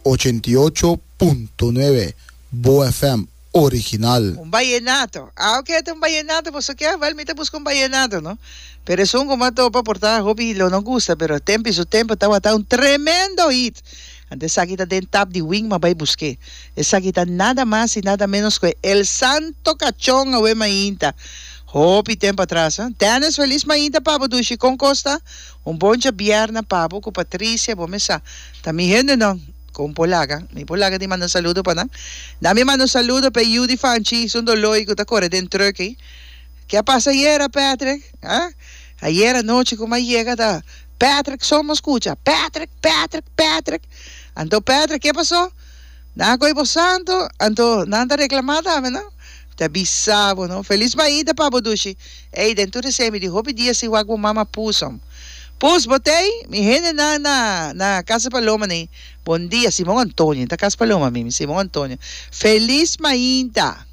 88.9 Bo FM original. Un bayenato. Ah ok ta un bayenato boso ke? Wel mi ta buska un bayenato no. Pero esun ku mi a topa por ta hopi lo no gusta pero tempo y su tempo tawata un tremendo hit. Anto esaki ta den tap di wing mi a bai busk'é. Esaki ta nada mas y nada menos ku e El Santo Cachon awe mainta. Hopi tempo atras ha. Dennis felis mainta pa bo dushi kon kos ta? Un bon djabièrnè pa bo ku Patricia bo mesa ta mi hendenan kon por laga mi por laga di manda un saludo pa nan na mi manda un saludo pa e yu di Fanchi esun doloi ku ta kore den truck ei ke a pasa ayera Patrick ha ayera anochi ku mi a yega ta Patrick so mi a skucha Patrick Patrick Patrick anto Patrick ke paso Nan a koe bo santo, anto nan ta reclama tambe, no? Ta bisa bo, no? Feliz maita pa bo, dushi. Ey, den tur esey mi di hopi dia sin wak bo mama Pus, hom. Pus, bo t'ey? Mi hendenan na, na Casa Paloma n'ey. Bon dia, Simon Antonio. Ta Casa Paloma mi, mi Simon Antonio. Feliz mainta!